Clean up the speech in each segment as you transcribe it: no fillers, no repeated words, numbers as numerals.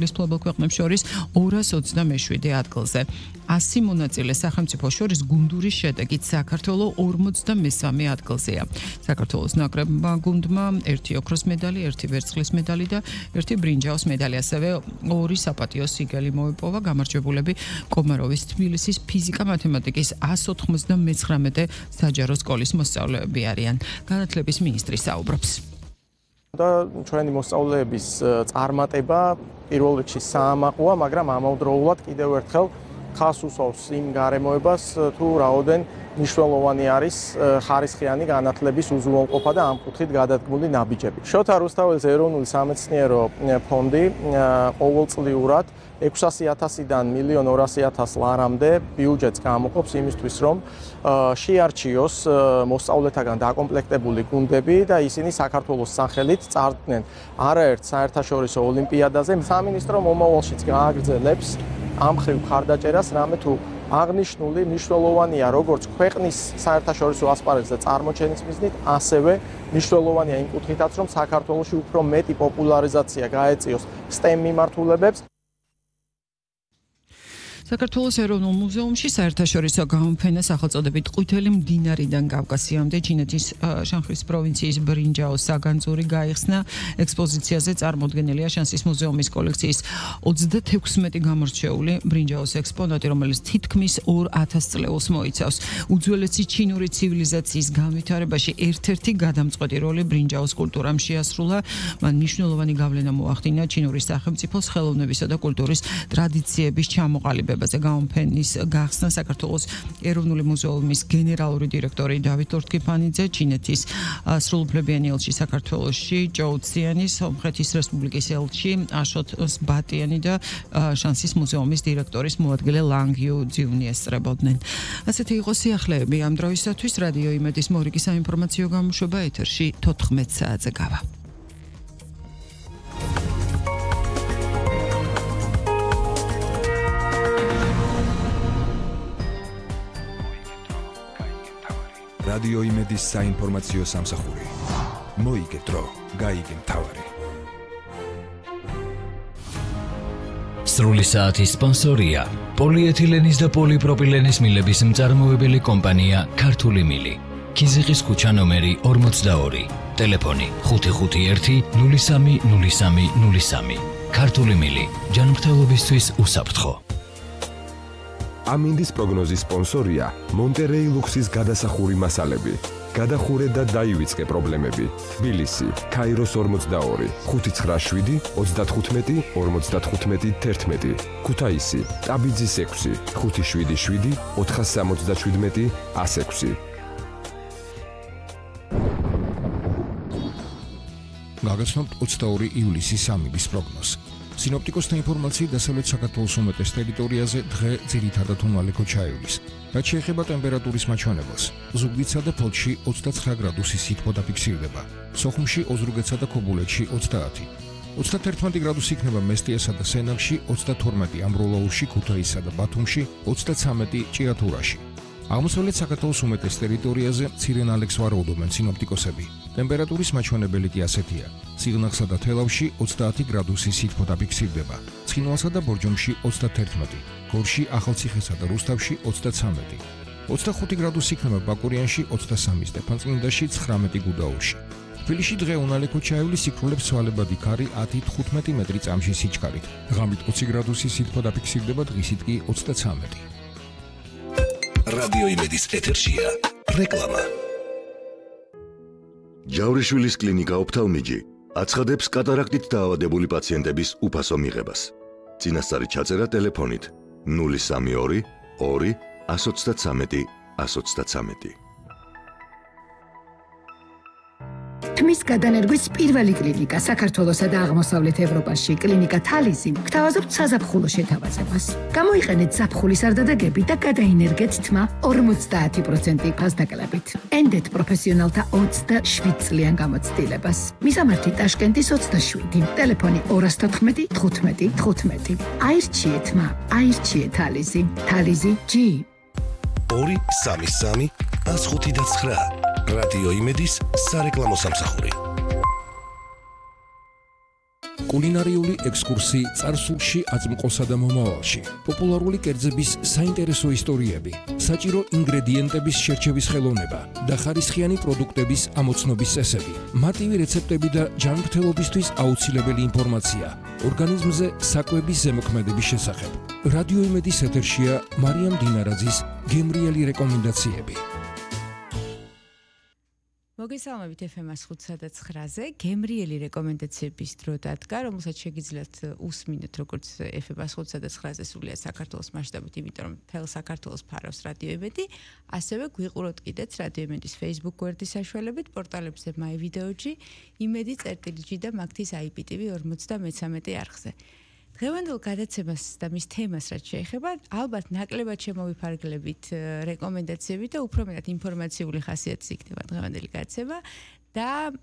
მფლობელ ქვეყნებს შორის 227 ადგილზე. 100 მონაწილე სახელმწიფო შორის გუნდურის შედეგით საქართველო 53 ადგილზეა. საქართველოს ნაკრებმა გუნდმა 1 ოქროს medali, 1 ვერცხლის medali და 1 ბრინჯაოს medali, ასევე 2 საპატიო სიგელი მოიპოვა. გამარჯვებულები კომაროვის თბილისის ფიზიკა-მათემატიკის 199 საჯარო სკოლის მოსწავლეები არიან. განათლების მინისტრი საუბრობს. და ჩვენი მოსწავლეების წარმატება პირველ რიგში საამაყოა, მაგრამ ამავდროულად კიდევ ერთხელ ხას უსვავს იმ გარემოებას, თუ რაოდენ მნიშვნელოვანი არის ხარისხიანი განათლების უზრუნველყოფა და ამ კუთხით გადადგმული ნაბიჯები. შოთა რუსთაველის ეროვნული სამეცნიერო ფონდი ყოველწლიურად 600,000-დან 1,200,000 ლარამდე ბიუჯეტს გამოყოფს იმისთვის, რომ შეარჩიოს მოსწავლეთაგან დაკომპლექტებული გუნდები და ისინი საქართველოს სახელით წარდგნენ არაერთ საერთაშორისო ოლიმპიადაზე. სამინისტრო მომავალშიც გააგრძელებს ამ ხრივ მხარდაჭერას, რამე თუ აღნიშნული მნიშვნელოვანია როგორც ქვეყნის საერთაშორისო ასპარეზზე წარმოჩენის მიზნით, ასევე მნიშვნელოვანია იმ კუთხითაც, რომ საქართველოში უფრო მეტი პოპულარიზაცია გაეწიოს STEM მიმართულებებს. საქართველოს ეროვნულ მუზეუმში საერთაშორისო გამოფენა სახელწოდებით ყვითელი მდინარიდან კავკასიამდე ჩინეთის შანხის პროვინციის ბრინჯაოს საგანძური გაიხსნა. ექსპოზიციაზე წარმოდგენილია შანსის მუზეუმის კოლექციის 36 გამორჩეული ბრინჯაოს ექსპონატი, რომელიც თითქმის 2000 წლეულს მოიცავს. უძველესი ჩინური ცივილიზაციის განვითარებაში ერთ-ერთი გადამწყვეტი როლი ბრინჯაოს კულტურამ შეასრულა. მან მნიშვნელოვანი გავლენა მოახდინა ჩინური სახელმწიფოს ხელოვნებისა და კულტურის ტრადიციების ჩამოყალიბებაზე. გამოფენის გახსნა საქართველოს ეროვნული მუზეუმის გენერალური დირექტორი დავით ლორთქიფანიძე, ჩინეთის სრულუფლებიანი ელჩი საქართველოში ჯოუ ციანი, სომხეთის რესპუბლიკის ელჩი აშოთ ბატიანი და შანსის მუზეუმის დირექტორის მოადგილე ლანგ იუ ძიუნი ესწრებოდნენ. ასეთი იყო სიახლეები ამ დროისათვის. რადიო იმედის მორიგი საინფორმაციო გამოშვება ეთერში 14 საათზე გავა. რადიო იმედის საინფორმაციო სამსახური. მოიგე დრო, გაიგე მთავარი. სრული საათის სპონსორია პოლიეთილენის და პოლიპროპილენის მილების მწარმოებელი კომპანია ქართული მილი. ქიზიყის ქუჩა ნომერი 42. ტელეფონი 551 03 03 03. ქართული მილი. ჯანმრთელობისთვის უსაფრთხო. ამინდის პროგნოზის სპონსორია მონტერეი ლუქსის გადასახური მასალები. გადახურე და დაივიწყე პრობლემები. თბილისი, ქაიროს 42, 597, 35, 55, 11. ქუთაისი, ტაბიძის 6, 577, 477, 106. გაგაცნობთ 22 ივლისის სამების პროგნოზს. სინოპტიკოსთა ინფორმაციით დასავლეთ საქართველოს უმეტეს ტერიტორიაზე დღე ძირითადად უმალე ქოჩაივლის. რაც შეეხება ტემპერატურის მაჩვენებელს, ზუგდიდსა და ფოთში 29 გრადუსი სითბო დაფიქსირდება, სოხუმში, ოზურგეთსა და ქობულეთში 30, 31 გრადუსი იქნება მესტიასა და სენაკში, 32 ამბროლაურში, ქუთაისსა და ბათუმში, 33 ჭიათურაში. აღმოსავლეთ საქართველოს უმეტეს ტერიტორიაზე მცირე ნალექს ვარაუდობენ სინოპტიკოსები. ტემპერატურის მაჩვენებელი კი ასეთია: სიღნაღსა და თელავში 30 გრადუსი სითბო დაფიქსირდება, ცხინვალსა და ბორჯომში 31, გორში, ახალციხესა და რუსთავში 33, 25 გრადუსი იქნება ბაკურიანში, 23 სტეფანწმინდაში, 19 გუდაურში. თბილისში დღე უნალე ქოჩაევლის სიკვდილებს ცვალებადი ქარი 10-15 მეტრი წამში სიჩქარით. ღამით 20 გრადუსი სითბო დაფიქსირდება, დღისით კი 33. რადიო იმედის ეთერშია რეკლამა. ჯავრიშვილის კლინიკა ოფთალმიჯი აცხადებს კატარაქტით დაავადებული პაციენტების უფასო მიღებას. წინასწარი ჩაწერა ტელეფონით 032 2 133 133. თმის გადანერგვის პირველი კლინიკა საქართველოსა და აღმოსავლეთ ევროპაში, კლინიკა თალიზი, გთავაზობთ საზაფხულო შეთავაზებას. გამოიყენეთ ზაფხულის არდადეგები და გადაინერგეთ თმა 50% ფასდაკლებით. ენდეთ პროფესიონალთა 27 წლიან გამოცდილებას. მისამართი ტაშკენტის 27, ტელეფონი 214 15 15. აირჩიეთ თმა, აირჩიეთ თალიზი. თალიზი G 233 159. რადიო იმედის სარეკლამო სამსახური. კულინარიული ექსკურსი წარსულში, აწმყოსა და მომავალში. პოპულარული კერძების საინტერესო ისტორიები, საჭირო ინგრედიენტების შერჩევის ხელოვნება და ხარისხიანი პროდუქტების ამოცნობის წესები. მარტივი რეცეპტები და ჯანმრთელობისთვის აუცილებელი ინფორმაცია. ორგანიზმზე საკვების ზემოქმედების შესახებ. რადიო იმედის ეთერშია მარიამ დინარაძის გემრიელი რეკომენდაციები. მოგესალმებით FM 105.9-ზე გემრიელი რეკომენდაციების დრო დადგა, რომელსაც შეგიძლიათ უსმინოთ როგორც FM 105.9-ზე სრულიად საქართველოს მასშტაბით, იმიტომ რომ მთელ საქართველოს ფარავს რადიო იმედი, ასევე გვიყუროთ კიდეც რადიო იმედის Facebook გვერდის საშუალებით, პორტალებზე MyVideoG, იმედი.gi და მაგთის IPTV 53 არხზე. დღევანდელ გადაცემას და მის თემას რაც შეეხება, ალბათ ნაკლებად შემოვიფარგლებით რეკომენდაციები და უფრო მეტად ინფორმაციული ხასიათის იქნება დღევანდელი გადაცემა და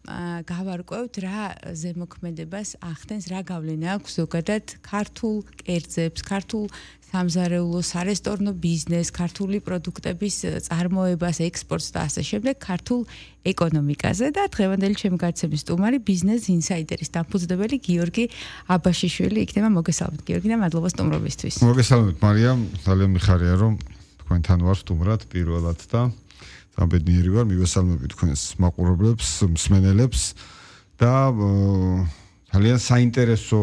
გავარკვევთ რა ზემოქმედებას ახდენს, რა გავლენა აქვს ზოგადად ქართულ კერძებს, ქართულ სამზარეულოს, სარესტორნო ბიზნესს, ქართული პროდუქტების წარმოებას, ექსპორტს და ასე შემდეგ ქართულ ეკონომიკაზე და დღევანდელი ჩემი გადაცემის სტუმარი ბიზნეს ინსაიდერის დამფუძნებელი გიორგი აბაშიშვილი იქნება. მოგესალმებით გიორგი და მადლობა სტუმრობისთვის. მოგესალმებით მარიამ, ძალიან მიხარია რომ თქვენთან ვარ სტუმრად პირველად და გამბედნიერი ვარ, მივესალმები თქვენს მაყურებლებს, მსმენელებს და ძალიან საინტერესო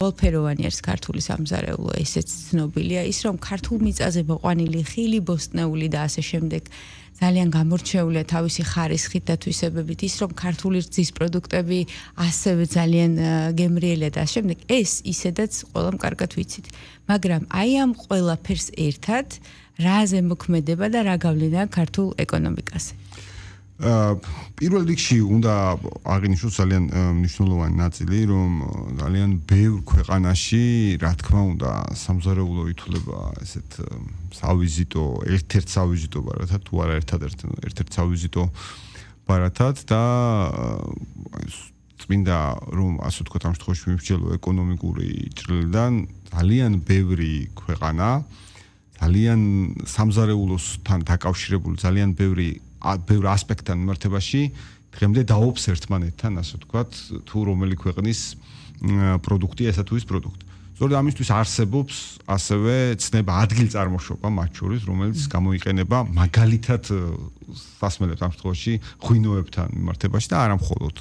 ყველფეროვანი არის ქართული სამზარეულო, ესეც ცნობილია ის რომ ქართულ მიწაზე მოყვანილი ხილი, ბოსტნეული და ასე შემდეგ ძალიან გამორჩეულია თავისი ხარისხით და თვისებებით, ის რომ ქართული რძის პროდუქტები ასევე ძალიან გემრიელია და ასე შემდეგ, ეს ისედაც ყველამ კარგად ვიცით. მაგრამ აი ამ ყველაფერს ერთად რა ზემოქმედება და რა გავლენა ქართულ ეკონომიკაზე? პირველ რიგში უნდა აღინიშნოს ძალიან მნიშვნელოვანი ნაწილი, რომ ძალიან ბევრ ქვეყანაში, რა თქმა უნდა, სამზარეულო ითვლება ესეთ სავიზიტო, ერთ-ერთ სავიზიტო ბარათად, თუ არა ერთ-ერთ სავიზიტო ბარათად და წმინდა რომ ასე ვთქვათ, ამ შემთხვევაში მიმსჯელო ეკონომიკური ჭრილიდან ძალიან ბევრი ქვეყანა, ძალიან სამზარეულოსთან დაკავშირებული ძალიან ბევრ ასპექტთან მიმართებაში დღემდე დაობს ერთმანეთთან, ასე ვთქვათ, თუ რომელი ქვეყნის პროდუქტია ესა თუ ის პროდუქტი. სწორედ ამისთვის არსებობს ასევე ცნება ადგილწარმოშობა მათ შორის, რომელიც გამოიყენება მაგალითად სასმელებს ამ შემთხვევაში ღვინოებთან მიმართებაში და არა მხოლოდ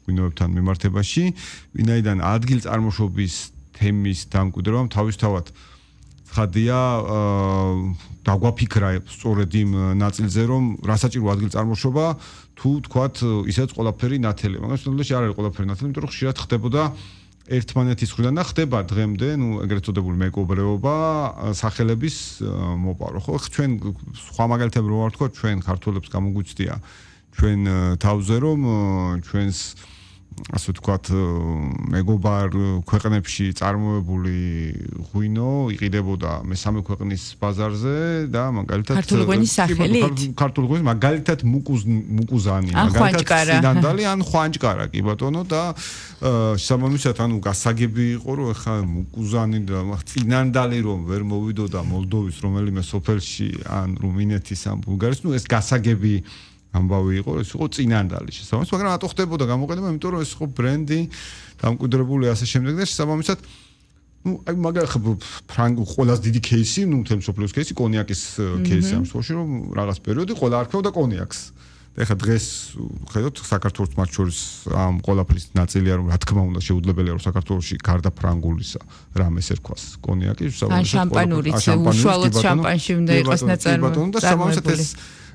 ღვინოებთან მიმართებაში, ვინაიდან ადგილწარმოშობის თემის დამკვიდრებამ თავისთავად ხადია დაგვაფიქრა სწორედ იმ ნაწილზე, რომ რასაჭირო ადგილწარმოშობა თუ თქვათ ისეც ყველაფერი ნათელია. მაგრამ შემთხვევაში არ არის ყველაფერი ნათელი, იმიტომ რომ ხშირად ხდებოდა ერთმანეთის მხრიდან და ხდება დღემდე, ეგრეთ წოდებული მეკობრეობა სახელების მოპარო. ხო, ჩვენ სხვა მაგალითები რო ვარ თქვა, ჩვენ ქართველებს გამოგვიცდია ჩვენ თავზე რომ ჩვენს ასე ვთქვათ, მეგობარ ქვეყნებში წარმოებული ღვინო იყიდებოდა მესამე ქვეყნის ბაზარზე და მაგალითად ქართული ღვინის სახელით? ქართული ღვინის მაგალითად მუკუზანი, მაგალითად სინანდალი ან ხვანჭკარა, კი ბატონო და შესაბამისად ანუ გასაგები იყო რომ ეხა მუკუზანი და სინანდალი რომ ვერ მოვიდოდა მოლდოვის რომელიმე სოფელში ან რუმინეთის ან ბულგარეთის, ეს გასაგები ამბავი იყო, ეს იყო წინანდალი შესაბამისად, მაგრამ რატო ხდებოდა გამოყენება, იმიტომ რომ ეს იყო ბრენდი, დამკვიდრებული ასე შემდეგ და შესაბამისად, აი მაგალითად ფრანგ ყველაზე დიდი кейსი, მთელი მსოფლიოს кейსი, კონიაკის кейსი ამ შემთხვევაში, რომ რაღაც პერიოდი ყველა არქევდა კონიაკს. და ეხლა დღეს ხედავთ საქართველოს მათ შორის ამ ყველაფრის ნაწილია, რომ რა თქმა უნდა შეუძლებელია რომ საქართველოში გარდა ფრანგულისა რამეს ერქვას კონიაკი, შესაბამისად შამპანურიც, უშუალოდ შამპანში უნდა იყოს ნაწარმოებული.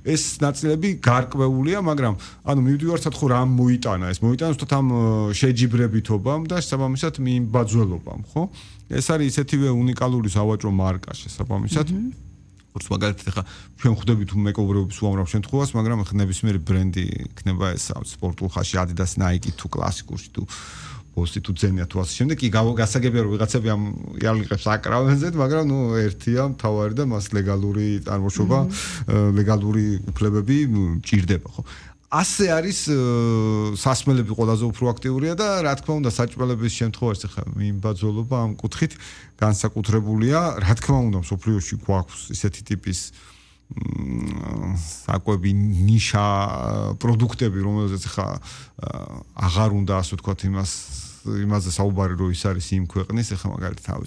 ეს ნაწილები გარკვეულია, მაგრამ ანუ მივდივართ ხო რა მოიტანა ეს მოიტანა უბრალოდ ამ შეჯიბრებითობამ და შესაბამისად მიმბაძველობამ, ხო? ეს არის ისეთივე უნიკალური სავაჭრო მარკა შესაბამისად. როგორც მაგალითად ახლა ჩვენ ხვდებით მეკობრეობის უამრავ შემთხვევას, მაგრამ ახლა ნებისმიერი ბრენდი იქნება ეს სპორტულ ხაში Adidas, Nike თუ კლასიკურში თუ ბოსი თუ ძენია თუ ასე შემდეგ, კი გასაგებია რომ ვიღაცები ამ იარლიყებს აკრავენ, მაგრამ ერთია მთავარი და მას ლეგალური წარმოშობა, ლეგალური უფლებები ჭირდება, ხო? ასე არის სასმელები ყველაზე უფრო აქტიურია და რა თქმა უნდა საჭმელების შემთხვევაში ხა მიმბაძველობა ამ კუთხით განსაკუთრებულია, რა თქმა უნდა მსოფლიოში გვაქვს ისეთი ტიპის საკვები ნიშა პროდუქტები, რომელზეც ხა აღარ უნდა ასე ვთქვათ იმას იმაზე საუბარი რო ის არის იმ ქვეყნის, ეხლა მაგალითად თავის